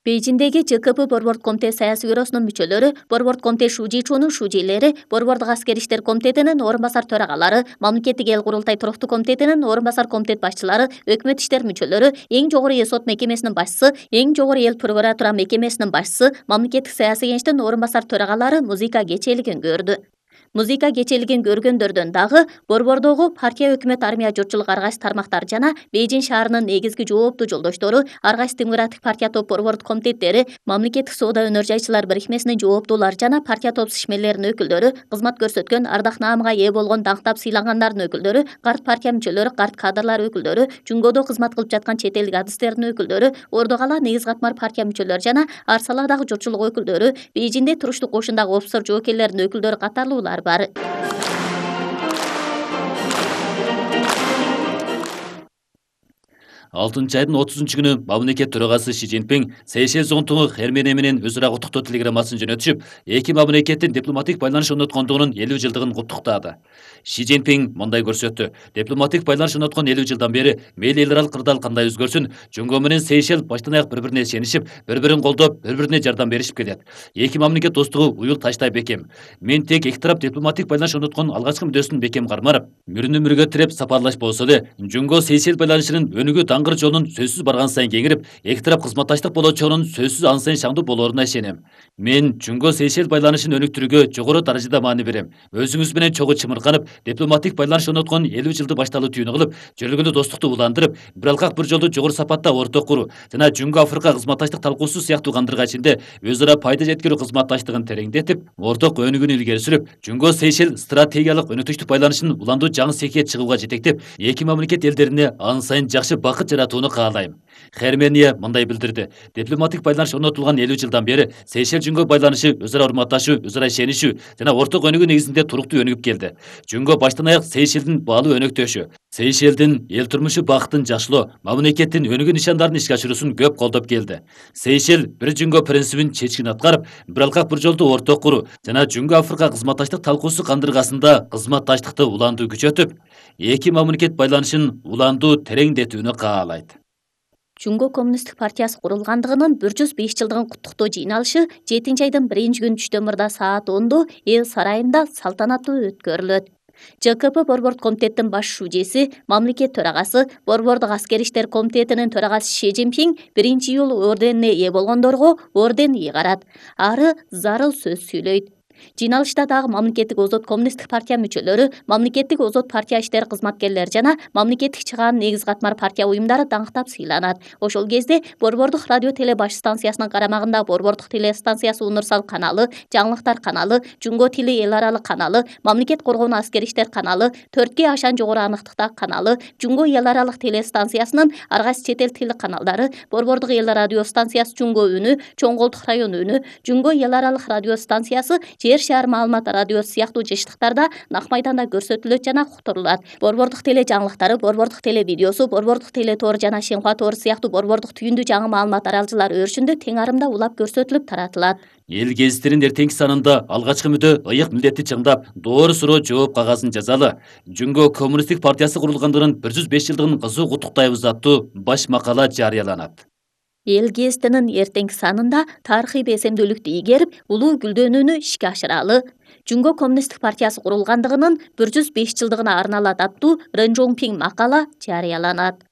Бейжиндеги ЖКП Борбордук комитет саясий бюросунун мүчөлөрү, Борбордук комитет Шужичунун шужийлери, Борбордук аскер иштер комитетинин орун басар төрагалары, Мамлекеттик эл курултай туруктуу комитетинин орун басар комитет башчылары, өкмөт иштер мүчөлөрү, эң жогору сот мекемесинин башчысы, эң жогору эл прокуратура мекемесинин башчысы, Мамлекеттик саясий кеңештин орун басар төрагалары музыка кечелигин көрдү. Музыка кечелигин көргөндөрдөн дагы борбордогу партия, өкмөт, армия, журтчулук ар кайсы тармактар жана Бейжин шаарынын негизги жооптуу жолдоштору, ар кайсы демократик партия топ борбордук комитеттери, Мамлекеттик соода өнөр жайчылар бирикмесинин жооптуулары жана партия топ ишмерлеринин өкүлдөрү, кызмат көрсөткөн, ардак наамга ээ болгон, даңктап сыйлангандардын өкүлдөрү, карт партия мүчөлөрү, карт кадрлар өкүлдөрү, Жунгодо кызмат кылып жаткан чет элдик адистердин өкүлдөрү, Ордогала негиз катмар партия мүчөлөрү жана Ар салаадагы журтчулук өкүлдөрү, Бейжинде туруштук кошундагы офицер жоокерлеринин өкүлдөрү катарлуулар бар. 6-айдын 30-күнү мамлекет төрагасы Ши Цзиньпин Сейшел зонтугу Хермене менен өз ара куттуктоо телеграммасын жөнөтүшүп, эки мамлекеттин дипломатик байланыш орноткондугунун 50 жылдыгын куттуктады. Ши Цзиньпин мындай көрсөттү: дипломатик байланыш орноткон 50 жылдан бери мейли эл аралык кырдаал кандай өзгөрсүн, Жунго менен Сейшел баштан аяк бири-бирине ишенишип, бири-бирин колдоп, бири-бирине жардам беришип келет. Эки мамлекет достугу уюл таштай бекем. Мен тек эки тарап дипломатик байланыш орноткон алгачкы мүддөсүн бекем карманып, мөрүнө-мөргө тиреп сапарлаш болсо эле, Жунго Сейшел байланышынын өнүгүү даңгыр жолунун сөзсүз барган сайын кеңирип, эки тарап кызматташтык болочогунун сөзсүз ан сайын шаңдуу болооруна ишенем. Мен Жунго Сейшел байланышын өнүктүрүүгө жогору даражада маани берем. Өзүңүз менен чогуу чымырканып, дипломатик байланыш орноткон 50 жылды башталуу түйүнү кылып, жөргөлүү достукту уландырып, бир алкак бир жолду жогору сапатта орток куруу жана Жунго Африка кызматташтык талкуусу сыяктуу кандырга ичинде өз ара пайда жеткирүү кызматташтыгын тереңдетип, орток өнүгүүнү илгери сүрүп, Жунго Сейшел стратегиялык өнөктүчтүк байланышын уландуу жаңы секке чыгууга жетектеп, эки мамлекет элдерине ан сайын жакшы бакыт жаратууну каалайм. Хермения мындай билдирди: дипломатик байланыш орнотулган 50 жылдан бери Сейшел Жунго байланышы өз ара урматташуу, өз ара ишенишүү жана орток өнүгүү негизинде туруктуу өнүгүп келди. Жунго баштан аяк Сейшелдин баалуу өнөктөшү, Сейшелдин эл турмушу бакытын жакшылоо, мамлекеттин өнүгүү нишандарын ишке ашыруусун көп колдоп келди. Сейшел бир Жунго принцибин чечкин аткарып, бир алкак бир жолду орток куруу жана Жунго Африка кызматташтык талкуусу кандыргасында кызматташтыкты уландуу күчөтүп, эки мамлекет байланышын уландуу тереңдетүүнү каалайт. Жунго коммунисттик партиясы курулгандыгынын 105 жылдыгын куттуктоо жыйналышы 7-айдын 1-күнү түштөн саат 10-до эл сарайында салтанаттуу өткөрүлөт. ЖКП Борбордук комитеттин баш шужиси, мамлекет төрагасы, Борбордук аскер иштер комитетинин төрагасы Ши Цзиньпин 1-июл орденине ээ болгондорго орден ыйгарат. Ары зарыл сөз сүйлөйт. Жыйналышта дагы мамлекеттик озот коммунисттик партия мүчөлөрү, мамлекеттик озот партия иштер кызматкерлери жана мамлекеттик чыгаанын негиз катмар партия уюмдары даңктап сыйланат. Ошол кезде Борбордук радио теле баш станциясынын карамагында Борбордук телестанциясы Универсал каналы, Жаңылыктар каналы, Жунго тили эл аралык каналы, Мамлекет коргоонуу аскер иштер каналы, 4G ашан жогору аныктыктагы каналы, Жунго эл аралык телестанциясынын ар кайсы чет эл тил каналдары, Борбордук эл радио станциясы Жунго үнү, Чоң Колтук район үнү, Жунго эл аралык радио станциясы, Жер шаар маалымат радиосу сыяктуу жыштыктарда нак майданда көрсөтүлөт жана уктурулат. Борбордук теле жаңылыктары, Борбордук теле видеосу, Борбордук теле тоор жана Шенхуа тоору сыяктуу борбордук түйүндүү жаңы маалымат аралжылар өрүшүндө тең арымда улап көрсөтүлүп таратылат. Эл гезиттеринин эртеңки санында алгачкы мүдө ыйык милдетти чыңдап, доор суроо жооп кагазын жазалы. Жунго коммунисттик партиясы курулгандыгынын 105 жылдыгын кызуу куттуктайбыз аттуу баш макала жарыяланат. Эл гезитинин эртеңки санында тарыхый бесемдүүлүктү ийгерип, улуу гүлдөнүүнү ишке ашыралы. Жунго коммунисттик партиясы курулгандыгынын 105 жылдыгына арналат аттуу Рен Жоңпиң макала жарыяланат.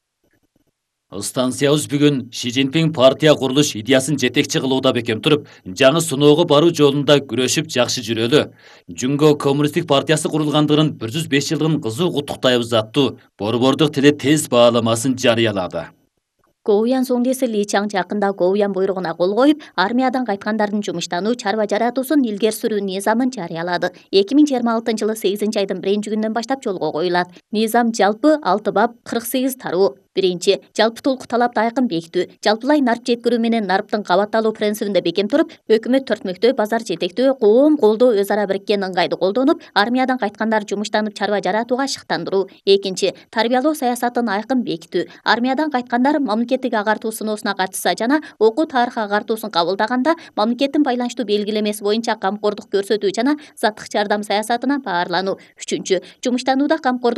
Станциябыз бүгүн Ши Цзиньпин партия курулуш идеясын жетекчи кылууда бекем туруп, жаңы сыноого баруу жолунда күрөшүп жакшы жүрөлү. Жунго коммунисттик партиясы курулгандыгынын 105 жылдыгын кызуу куттуктайбыз аттуу борбордук теле тез бааламасын жарыялады. Гоуян Соңдеси Ли Чаң жакында Гоуян буйругуна кол коюп, армиядан кайткандардын жумуштануу, чарба жаратуусун илгери сүрүү низамын жарыялады. 2026-жылы 8-айдын 1-күнүнөн баштап жолго коюлат. Низам жалпы 6 бап 48 тароо. Биринчи, жалпы толку талапты айкын бекитүү, жалпылай нарп жеткирүү менен нарптын кабатталуу принцибинде бекем туруп, өкмөт төртмөктөө, базар жетектөө, коом колдоо өз ара бириккен ыңгайды колдонуп, армиядан кайткандар жумуштанып чарба жаратууга шыктандыруу. Экинчи, тарбиялоо саясатын айкын бекитүү, армиядан кайткандар мамлекеттик агартуу сыноосуна катышса жана окуу тарых агартуусун кабылдаганда мамлекеттин байланыштуу белгилемеси боюнча камкордук көрсөтүү жана заттык жардам саясатына баарлануу. Үчүнчү, жумуштанууда камкордук